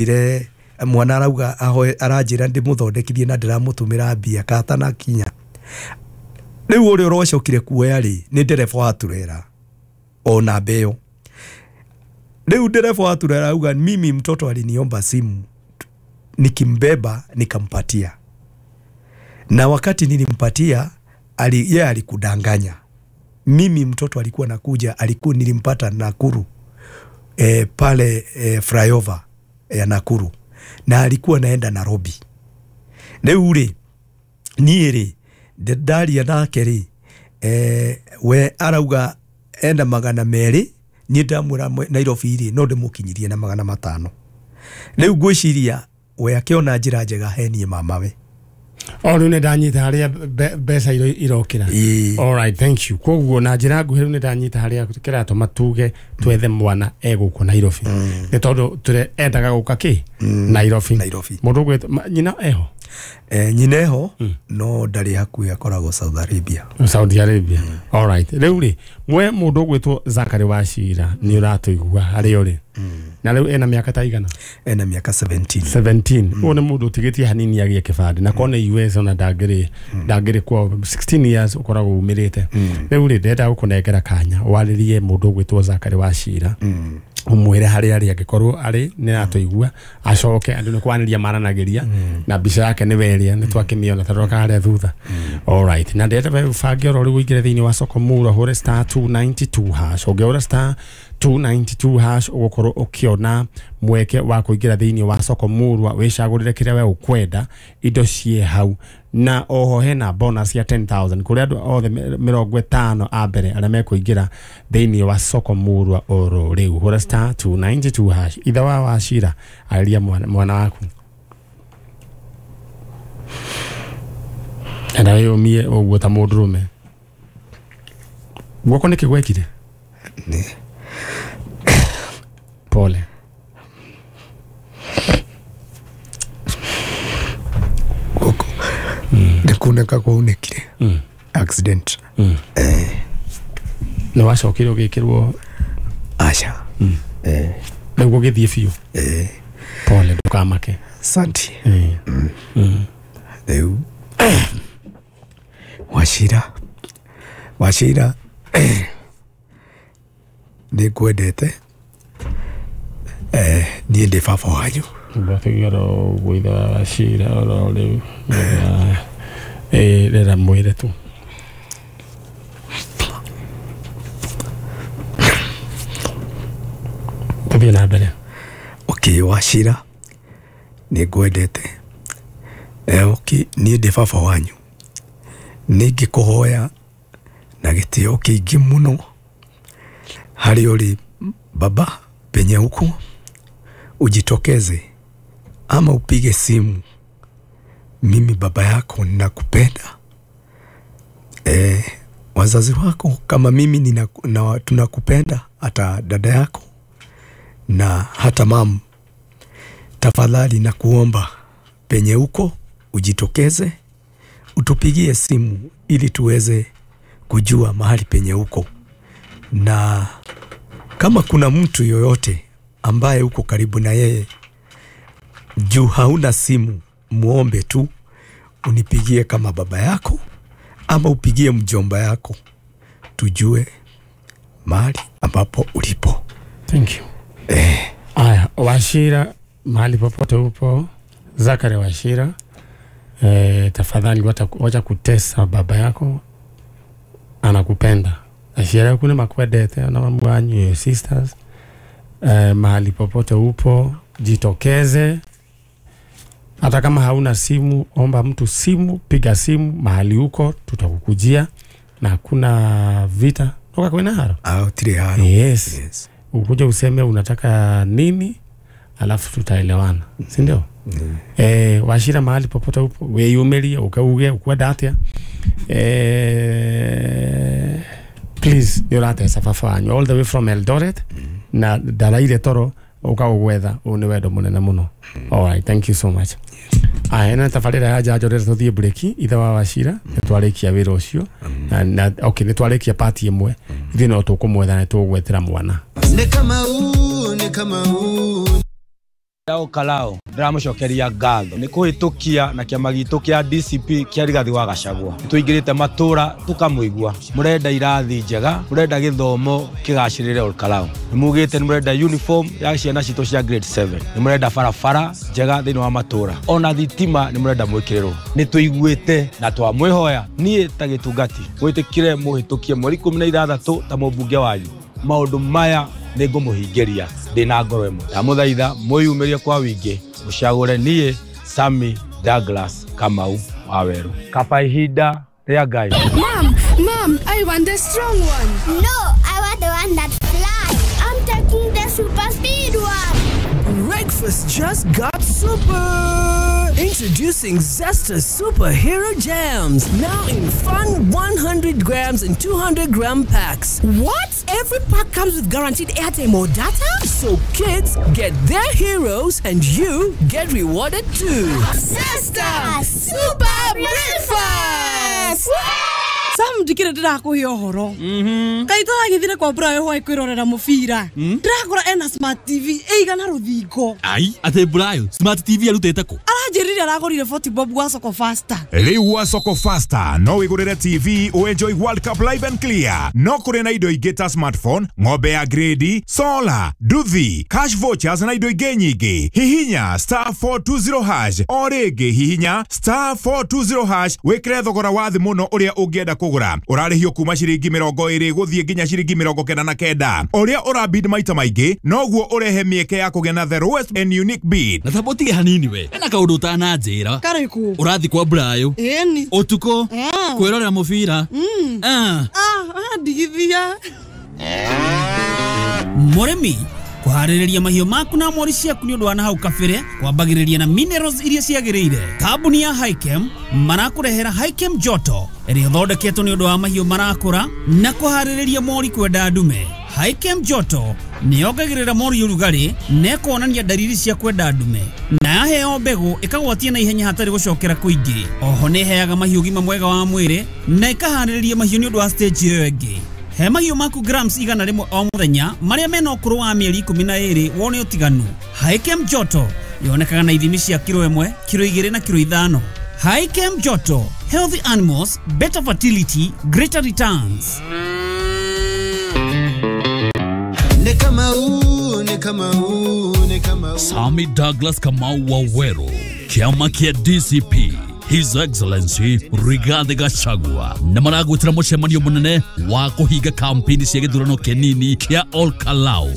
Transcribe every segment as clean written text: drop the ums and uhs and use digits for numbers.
Ire mwana arauga ahoe aranjĩra ndĩmũthondekithie na ndĩramũtũmĩra mbia katanakinya. Rĩu ũrĩa ũrocokire kuoya rĩ nĩ ndereba wa turera ona mbeo. Rĩu ndereba wa turera auga mimi mtoto aliniomba simu nikimbeba nikampatia, na wakati nilimpatia yeye alikudanganya. Mimi mtoto alikuwa nakuja, alikuwa nilimpata Nakuru pale flyover ya Nakuru, na alikuwa naenda Nairobi. Rĩu rĩ niĩ rĩ ndaria nake rĩ we arauga enda 200, niĩ ndamwĩra Nairobi rĩ no ndĩmũkinyirie na 500. Rĩu ngwĩciria we akĩona njĩra njega he niĩ mamawe. O rĩu nĩ ndanyita harĩa mbeca irokĩra. All right, thank you. Koguo na njĩra nguhĩ rĩu nĩ ndanyita harĩa kĩratũma tuge twethe mwana egũkũ Nairobi. Nĩ tondũ endaga gũka kĩ? Nairobi. Mũndũ ũgwĩtwo nyina eho? Nyina eho no ndarĩ hakuhĩ, akoragwo Saudi Arabia. Saudi Arabia. All right. Rĩu rĩ mwe mũndũ ũgwĩtwo Zachary Wachira nĩ ũratũigua harĩa ũrĩ. Na rĩu ena mĩaka ta igana? Ena mĩaka 17. 17. Ũyũ nĩ mũndũ ũtigĩtie hanini agĩe kĩbandĩ na korwo nĩ US ona ndangĩrĩ kwao 16 years ũkoragwo umĩrĩte. Rĩu rĩ ndĩrenda gũkũnengera kanya warĩrie mũndũ ũgwĩtwo Zachary Wachira umwĩre harĩa arĩ angĩkorwo arĩ nĩ aratũigua acoke andũ nĩ kwanĩria maranagĩria na mbica yake nĩ weria nĩ twakĩmĩona ta roka harĩa thutha. All right. Na ndĩrenda ũbange oro rĩu ũingĩre thĩinĩ wa soko mura hũre star 292 hash. Ũngĩhũra star 292 hash ũgũkorwo ũkĩona mweke wa kũingĩra thĩinĩ wa soko murwa wĩcagũrĩre kĩrĩa we ũkwenda indo ciĩ hau, na oho hena bonus ya 10,000 kũrĩ andũ othe 50 a mbere arĩa mekũingĩra thĩinĩ wa soko murwa oro rĩu. Hũra star 292 hash. Ithe wa Wachira arĩria mwana waku enda wĩyũmie ũguo ta mũndũrũme. Guoko nĩkĩ gwekire? Pole. Guoko nĩ kunĩka kwaunĩkire. Accident. Nĩ wacokire ũgĩkĩrwo? Aca. Rĩu ũgĩthiĩ biũ? Pole, ndũkamake. Asante. Rĩu Wachira nĩ ngwendete. Niĩ ndĩ baba wanyu. Ndatigĩra ũguo ithe wa Wachira oro rĩu. Rera mwĩre tu. Tũthiĩ na mbere. Okay, Wachira nĩ ngwendete. Okay, niĩ ndĩ baba wanyu. Nĩ ngĩkũhoya na gĩtĩo kĩingĩ mũno harĩa ũrĩ baba, penye huko ujitokeze ama upige simu. Mimi baba yako ninakupenda. Wazazi wako kama mimi tunakupenda, hata dada yako na hata mamu. Tafadhali nakuomba penye huko ujitokeze utupigie simu ili tuweze kujua mahali penye huko. Na kama kuna mtu yoyote ambaye uko karibu na yeye juu hauna simu, muombe tu unipigie kama baba yako ama upigie mjomba yako, tujue mahali ambapo ulipo. Thank you. Aya, Wachira mahali popote upo, Zachary Wachira, tafadhali wacha kutesa baba yako, anakupenda. Aciari aku nĩ makwendete na mamu wanyu, your sisters. Mahali popote upo jitokeze. Hata kama hauna simu, omba mtu simu, piga simu mahali uko, tutakukujia na hakuna vita. Toka kwena haro. Tiri haro. Yes. Yes. Ukuje useme unataka nini, alafu tutaelewana. Si ndio? Wachira mahali popote upo, weyumerie, ukauge, ukwenda atia. Please, nĩ ũratesa baba wanyu all the way from Eldoret. Na ndaraire toro ũkaũgwetha ũũ nĩ wendo mũnene mũno. All right, thank you so much. Aya, na tabarĩra ya njanjo rĩrĩa tũthiĩ break, ithe wa Wachira nĩ twarĩkia wĩra ũcio. Na okay, nĩ twarĩkia part ĩmwe, ithuĩ no tũkũmwetha na tũgwetera mwana. Ni kama huu, ni kama huu. Olkalou ndĩramũcokeria ngatho nĩ kũhĩtũkia na kĩama gitũ kĩa DCP kĩa Rigathi wa Gachagua. Tũingĩrĩte matũra tũkamũigua, mũrenda irathi njega, mũrenda gĩthomo kĩgacĩrĩre Olkalou, nĩ mugĩte nĩ mũrenda uniform ya ciana citũ cia grade 7, nĩ mũrenda barabara njega thĩinĩ wa matũra, ona thitima nĩ mũrenda mwĩkĩrĩrwo. Nĩ tũiguĩte na twamwĩhoya niĩ ta gĩtungati mwĩtĩkire mũhĩtũkie mweri 16 ta mũmbunge wanyu. Maũndũ maya nĩ ngũmũhingĩria ndĩna ngoro ĩmwe. Ndamũthaitha mwĩyumĩrie kwa wingĩ mũcagũre niĩ Sammy Douglas Kamau Waweru. Kaba ihinda rĩa Ngai. Mom, Mom, I want the strong one. No, I want the one that flies. I'm taking the super speed one. Breakfast just got super. Introducing Zesta Superhero Jams, now in fun 100 grams and 200 gram packs. What? Every pack comes with guaranteed airtime or data? So kids get their heroes and you get rewarded too. Zesta Super Breakfast! Sam ndikire ndirakuhe uhoro. Kai turagithire kwa Brayo hwai kwirorera mubira. Ndirakora ena smart TV ĩigana ruthingo. Ai, ate Brayo smart TV arutite ku? Aranjirire aragurire 40 bob gwa Soko Faster. Riu gwa Soko Faster no wigurire TV u enjoy World Cup live and clear. No kuri na indo ingĩ ta smartphone, ng'ombe ya grade, solar, nduthi, cash vouchers na indo ingĩ nyingĩ. Hihinya *420# o rĩngĩ hihinya *420# wikire thogora wa thĩ mũno ũrĩa ũngĩenda kũgũra. Ũrarĩhio kuma ciringi 20 gũthiĩ nginya ciringi 99. Ũrĩa ũrabid maita maingĩ noguo ũrehe mĩeke ya kũgĩa na the lowest and unique bid. Na thabotige hanini we ena kaũndũ ũtananjĩra. Karĩkũ? Ũrathi kwa Brayo ĩni ũtukũ kwĩrorera mũbira. Ndigithia mũrĩmi kũharĩrĩria mahiũ maku na mori ciaku nĩ ũndũ wa nahau kabere kwambagĩrĩria na minerals iria ciagĩrĩire. Kambuni ya Hikem marakũrehera Hikem Joto ĩrĩa ĩthondeketwo nĩ ũndũ wa mahiũ marakũra na kũharĩrĩria mori kwenda ndume. Hikem Joto nĩ yongagĩrĩra mori ũrugarĩ na ĩkonania ndariri cia kwenda ndume, na yaheo mbegũ ĩkagwatia na ihenya hatarĩ gũcokera kũingĩ. Oho nĩ ĩheaga mahiũ ũgima mwega wa mwĩrĩ na ĩkaharĩrĩria mahiũ nĩ ũndũ wa stage ĩyo ĩngĩ. He mahiũ maku grams 100 o mũthenya marĩa mena ũkũrũ wa mĩeri 12 wone ũtiganu. Hikem Joto yonekaga na ithimi cia kiro 1, kiro 2 na kiro 5. Hikem Joto, healthy animals, better fertility, greater returns. Sammy Douglas Kamau Waweru, kiama kia DCP, His Excellency Rigathi Gachagua na maragwitira mucemanio munene wa kuhinga kampeni cia githurano kinini kia Olkalou.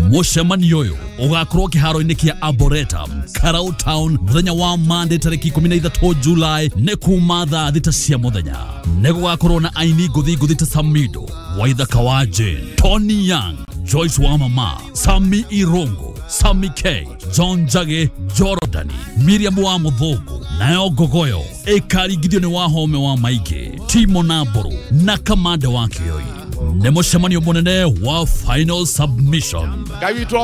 Mucemanio uyu ugakorwo kiharo-ini kia Arboretum, Karau Town, muthenya wa Monday tariki 13 July ni kuma thaa 6 cia muthenya. Ni gugakorwo na aini nguthi nguthi ta Samido, Waithaka wa Jane, Tony Young, Joyce Wamama, Sami Irongo, Sami K, John Jage, Jorodani, Miriam wa Muthugu, nayo Ngogoyo ĩkaringithio nĩ Wahome wa Maingĩ, Timo Namburu na Kamande wa Kĩoi. Nĩ mũcemanio mũnene wa final submission. Ngai witũ